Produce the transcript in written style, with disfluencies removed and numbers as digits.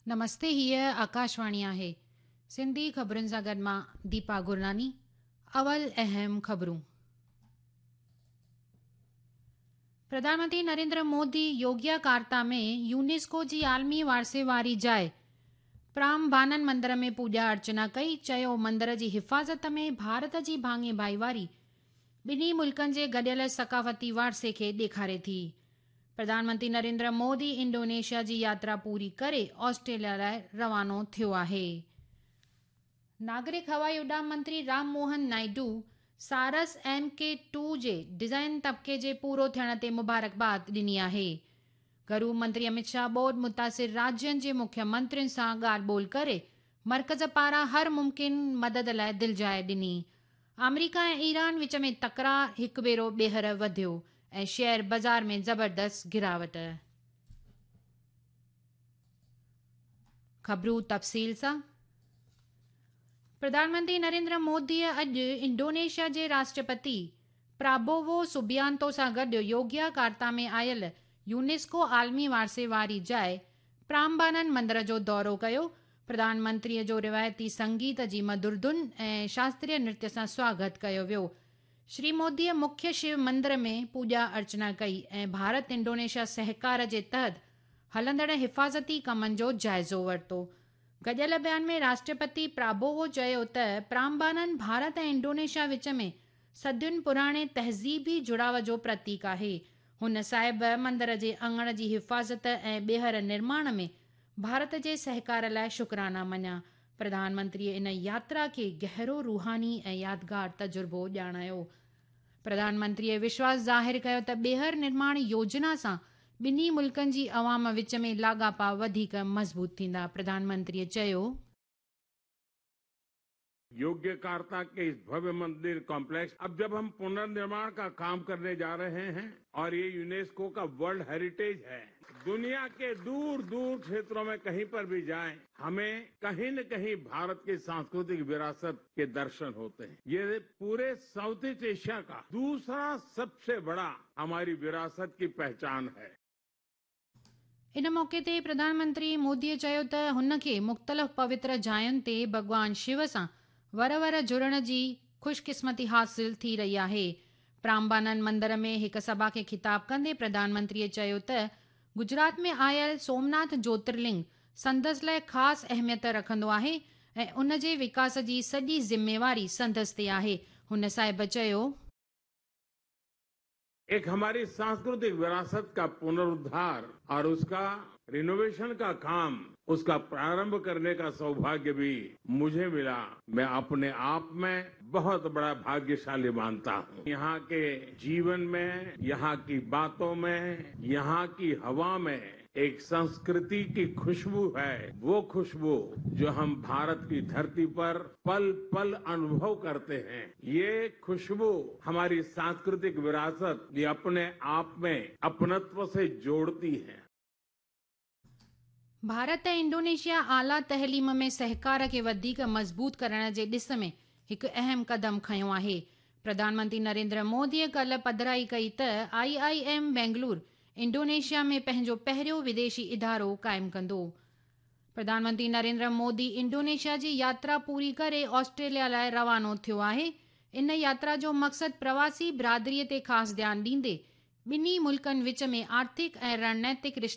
نمستي هيء آڪاشواڻي آهي سنڌي خبرن سان گڏ مان ديپا گرناني اول اهم خبرون پرڌان منتري نريندر مودي يوگياڪارتا ۾ يونيسڪو جي عالمي وارثي واري جاء پرامبانن مندر ۾ پوڄا ارچنا ڪئي، چيو مندر جي حفاظت ۾ ڀارت جي ڀاڱي ڀائيواري ٻنهي ملڪن جي گڏيل ثقافتي وارثي کي ڏيکاري ٿي. پرڌان منتري نريندر مودي انڊونيشيا جي ياترا پوري ڪري آسٽريليا لاء روانو ٿيو آهي. ناگرڪ هوائي اڏام منتري Ram Mohan Naidu Saras M K two جي ڊزائن طبقي جي پورو ٿيڻ تي مبارڪباد ڏني آهي. گهرو منتري امت شاهه ٻوڏ متاثر راجين جي مکيه منترين سان ڳالهه ٻولهه ڪري مرڪز پاران هر ممڪن مدد لاء دلجاء ڏني. آمريڪا ۽ ايران وچ ۾ تڪرار هڪ ڀيرو ٻيهر وڌيو ۽ شيئر بازار ۾ زبردست گراوٽ. خبرون تفصيل سان، پرڌان منتري نريندر موديء اڄ انڊونيشيا جي راشٽرپتي پرابوو سوبيانتو سان گڏ يوگياڪارتا ۾ آيل يونيسڪو عالمي وارثي واري جاء پرامبانن مندر جو دورو ڪيو. پرڌان منتريء جو روايتي سنگيت جي مڌر ڌن ۽ شاستريه نرتيه سان سواگت ڪيو ويو. شري موديء مکيه شو مندر ۾ پوڄا ارچنا ڪئي ۽ ڀارت انڊونيشيا سهڪار جي تحت هلندڙ حفاظتي ڪمن جو جائزو ورتو. گڏيل بيان ۾ راشٽرپتي پرابوو چيو ته پرامبانن ڀارت ۽ انڊونيشيا وچ ۾ صدين پراڻي تهذيبي جڙاء جو پرتيڪ آهي. هن صاحب مندر جي اڱڻ جي حفاظت ۽ ٻيهر نرماڻ ۾ ڀارت جي سهڪار لاء شڪرانا مڃيا. پرڌان منتريء ان ياترا کي گهرو روحاني ۽ يادگار تجربو ڄاڻايو. پرڌان منتريء وشواس ظاهر ڪيو ته ٻيهر نرماڻ يوجنا سان ٻنهي ملڪن جي عوام وچ ۾ لاڳاپا وڌيڪ مضبوط ٿيندا. پرڌان منتريء چيو. योग्यकार्ता के इस भव्य मंदिर कॉम्प्लेक्स अब जब हम पुनर्निर्माण का काम करने जा रहे हैं और ये यूनेस्को का वर्ल्ड हेरिटेज है, दुनिया के दूर दूर क्षेत्रों में कहीं पर भी जाएं, हमें कहीं न कहीं भारत की सांस्कृतिक विरासत के दर्शन होते हैं। ये पूरे साउथ ईस्ट एशिया का दूसरा सबसे बड़ा हमारी विरासत की पहचान है। ان موقعي تي پرڌان منتري مودي چيو ته هن کي مختلف پوتر جاين تي ڀڳوان شو سان ور ور جڙڻ جي خوش قسمتي حاصل ٿي رهي آهي. پرامبانن مندر ۾ هڪ سڀا کي خطاب ڪندي پرڌان منتري چيو ته گجرات ۾ آيل سومناٿ جوترلنگ سندس لاء خاص اهميت رکندو آهي ۽ ان جي وڪاس جي سڄي ذميواري سندس تي آهي. هن صاحب چيو. एक हमारी सांस्कृतिक विरासत का पुनरुद्धार और उसका रिनोवेशन का काम, उसका प्रारंभ करने का सौभाग्य भी मुझे मिला। मैं अपने आप में बहुत बड़ा भाग्यशाली मानता हूं। यहाँ के जीवन में, यहाँ की बातों में, यहाँ की हवा में एक संस्कृति की खुशबू है, वो खुशबू जो हम भारत की धरती पर पल पल अनुभव करते हैं। ये खुशबू हमारी सांस्कृतिक विरासत ये अपने आप में अपनत्व से जोड़ती है। ڀارت ۽ انڊونيشيا اعليٰ تعليم ۾ سهڪار کي وڌيڪ مضبوط ڪرڻ جي ڏس ۾ هڪ اهم قدم کنيو آهي. پرڌان منتري نريندر موديء ڪالهه پڌرائي ڪئي ته I I M Bangalore Indonesia ۾ پنهنجو پهريون وديشي ادارو قائم ڪندو. پرڌان منتري نريندر مودي انڊونيشيا جي ياترا پوري ڪري آسٽريليا لاء روانو ٿيو آهي. ان ياترا جو مقصد پرواسي برادري تي خاص ڌيان ڏيندي ٻنهي ملڪن وچ ۾ آرٿڪ ۽ رڻنيتڪ رشتا